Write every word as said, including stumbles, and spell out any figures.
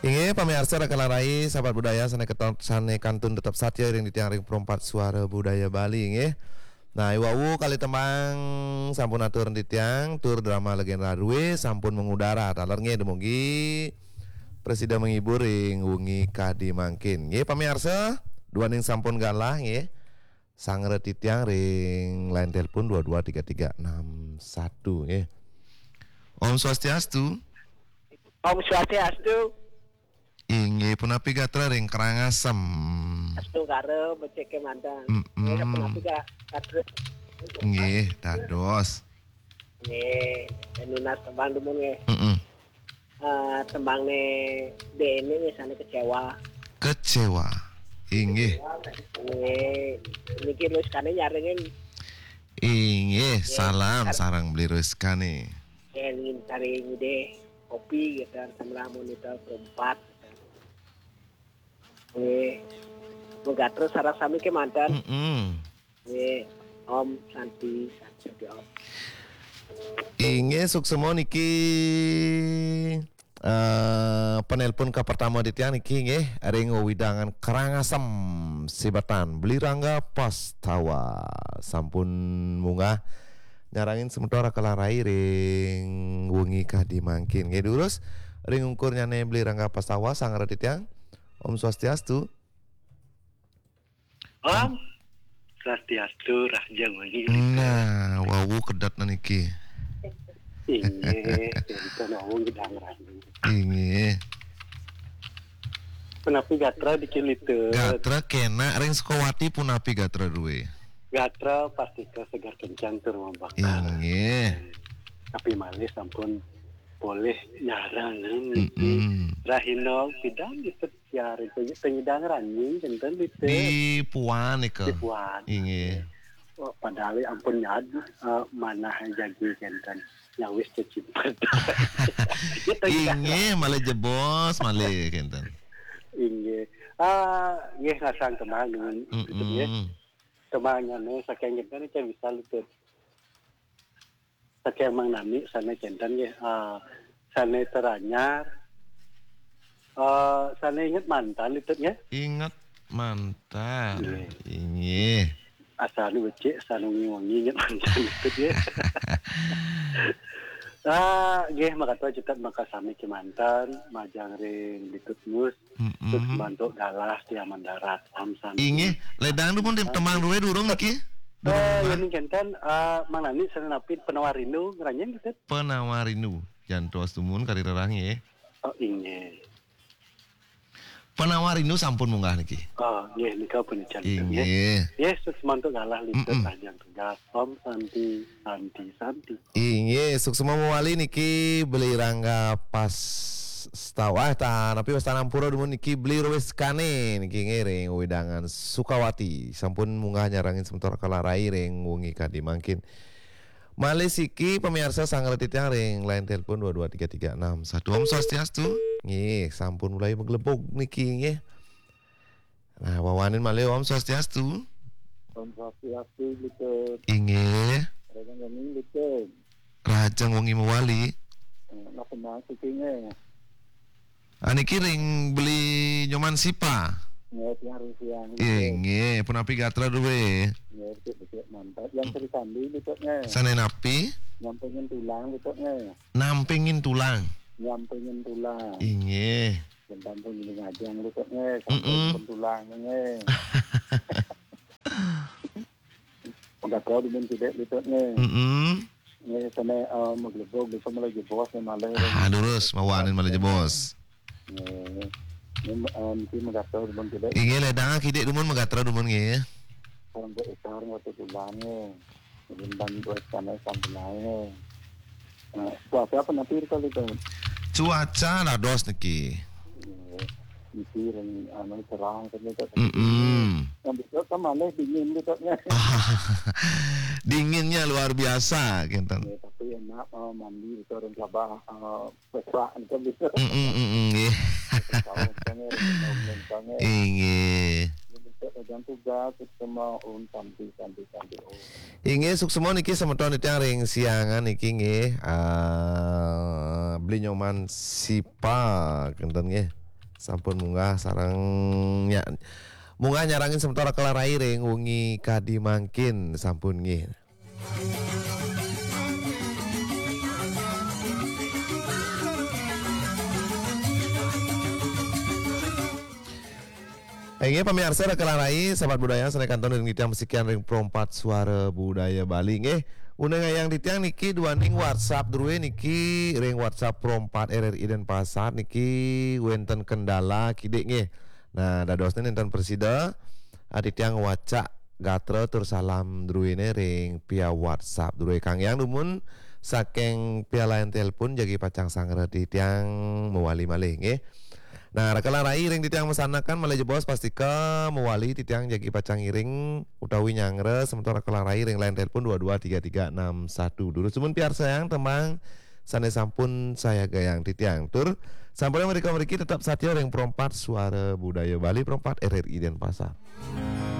Inggih, pamiarsa Raka Larai, sahabat budaya sané keton-, sané kantun tetep satya ring titiang ring Perempat Suara Budaya Bali, inggih. Nah, i wau kalih tembang sampun atur titiang, tur drama Legenda Rue sampun mengudara. Taler nggih, dumugi prasida menghibur ring wengi kadi mangkin. Nggih, pamiarsa, duaning sampun galah, nggih. Sangra titiang ring line telepon dua dua tiga tiga enam satu, nggih. Om Swastiastu. Om Swastiastu. Inggih, punapi gatra ring Karangasem? Astungkara becik kémanten. Mm-mm. Nggih, punapi ga-, gatra? Nggih, dados. Nggih, nunas tembang dumun nggih. Mm-mm. Eh, tembangné D N E nggih sané Kecewa. Kecewa. Inggih. Nggih, niki Ruskané nyarengin. Inggih, nggih, salam kar- sareng Beli Ruskané. Nggih, nggih, cari ngidih kopi gitu, sambil monitor Perempat. Nggih. Mugi terus sareng sami kémanten. Mm-mm. Nggih. Om Santi, Santi Om. Inggih, suksma niki, eh, penelpon kapertama titiang niki nggih ring wewidangan Karangasem Sibatan. Beli Rangga Pastawa sampun munggah nyarengin semeton Raka Larai ring wengi kadi mangkin. Nggih, durus ring ungkurnyané Beli Rangga Pastawa, sangra titiang. Om Swastiastu. Om Swastiastu, rahajeng wengi. Nah, wau kedetna niki. Inggih, wau kedang rahajeng. Inggih. Punapi gatra niki, Litut? Gatra kénak ring Sukawati, punapi gatra Rue? Gatra pastika seger kencang tur mambakal. Inggih. Tapi malih sampun polih nyarengin niki. Mm-mm. Rahina pidan, Litut? Siaran tengidang ranjing kénten, Litut? Di Puan nika. Di Puan. Inggih. Oh, padahal ampun nyad, eh, manah jagi kénten. Nyawis cecimpet. Inggih, malih jebos, malih kénten. Inggih. Ah, nggih, ngasang tembang dumun, Litut, nggih. Mm-mm. Tembangnyané saking kénten, Cai, bisa, Litut? Saking Mang Nani sané kénten nggih, ah, sané teranyar, ah, sané inget mantan, Litut, nggih? Inget mantan. Nggih. Inggih. Asa anu becik, asa anu wengi-wengi inget mantan, Litut, nggih. Ah, nggih, makaten, Cai, maka sami kémanten, majeng ring Litut Mus. Mm-mm. Terus bantuk galah tiang mendarat. Om Santi. Inggih, ledang dumun tem-, tembang Rue durung niki? Durung, eh, Bang? Yén kénten, eh, Mang Nani sané napi Penawar Rindu, ngranjing, Litut? Penawar Rindu. Jantos dumun kari rerah nggih. Oh, inggih. Penawar Rindu sampun munggah niki. Oh, nggih, nika pun janten, nggih. Inggih. Nggih, terus bantuk galah, Litut, mm-mm, rahajeng tugas. Om Santi, Santi, Santi. Inggih, suksma mawali niki Beli Rangga Pastawa, ah, ta-, napi wastanampura dumun niki Beli Ruskané niki nggih ring wewidangan Sukawati. Sampun munggah nyarengin semeton Raka Larai ring wengi kadi mangkin. Malih siki pamiarsa sangra titiang ring line telepon dua dua tiga tiga enam satu. Om Swastiastu. Nggih, sampun mulai maglebug niki nggih. Nah, wawanin malih, Om Swastiastu. Om Swastiastu, Litut. Inggih. Rahajeng wengi, Litut. Rahajeng wengi mawali. Eh, napa mas iki nggih? Ah, niki ring Beli Nyoman Sipa. Nggih, tiang ring siang, Litut. Inggih, punapi gatra Rue? Nggih, becik-becik mantap. Yang Sri Kandi, Litut, nggih. Sané napi? Nyampingin tulang, Litut, nggih. Nampingin tulang. Nyampingin tulang. Inggih. Bentang pun ini ngajeng, Litut, nggih. Mm-mm. Samping pun tulang, nggih. Udah tahu dumun tidak, Litut, nggih. Mm-mm. Nggih, sané, eh, maglebug, bisa malih jebos, nggih, malih. Ah, durus, mawanin malih jebos. Nggih. Ini, eh, niki magatra dumun tidak. Inggih, ledang kidik dumun magatra dumun, nggih. Sampun ekar, nggih, tutulan, nggih. Bintang dua sana sampai naik. Nah, cuaca apa nanti kali itu? Cuaca dados niki. Iya. Niki yang anu cerah kan itu. Mm-mm. Yang besok kan malah dingin gitu kan. Dinginnya luar biasa, kinten. Ya, tapi enak, eh, mandi itu orang Sabah, eh, Pesak, kan gitu. Mm-mm, mm-mm, nggih. Tahun kan ya, tahun kan ya. Inggih. Jadi, kita jangan tugas, kita mau, om, santi, santi, santi, om. Inggih, suksma niki semeton titiang ring siangan niki nggih. Ah, Beli Nyoman Sipa, kinten nggih. Sampun munggah sareng nya-, munggah nyarengin semeton Raka lan Rai ring wengi kadi mangkin sampun nggih. Inggih pamiarsa Raka lan Rai, sahabat budaya sane kantun ring titiang masikian ring Pro empat Suara Budaya Bali nggih. Uningayang titiang niki duaning WhatsApp druwe niki ring WhatsApp Pro empat R R I Denpasar niki wenten kendala kidik nggih. Nah, dadosne nenten prasida, ah, titiang wacak gatra tur salam druwene ring pia WhatsApp druwe. Kanggiang dumun saking pia line telepon jagi pacang sangra titiang mawali malih nggih. Nah, Raka lan Rai ring titiang masanekan malih jebos pastika mawali titiang jagi pacang ngiring utawi nyangra semeton Raka lan Rai ring line telepon dua dua tiga tiga enam satu. Durus dumun piarsayang tembang sane sampun sayagayang titiang. Tur sampun mrika mriki tetep satia ring Pro empat Suara Budaya Bali, Pro empat R R I Denpasar.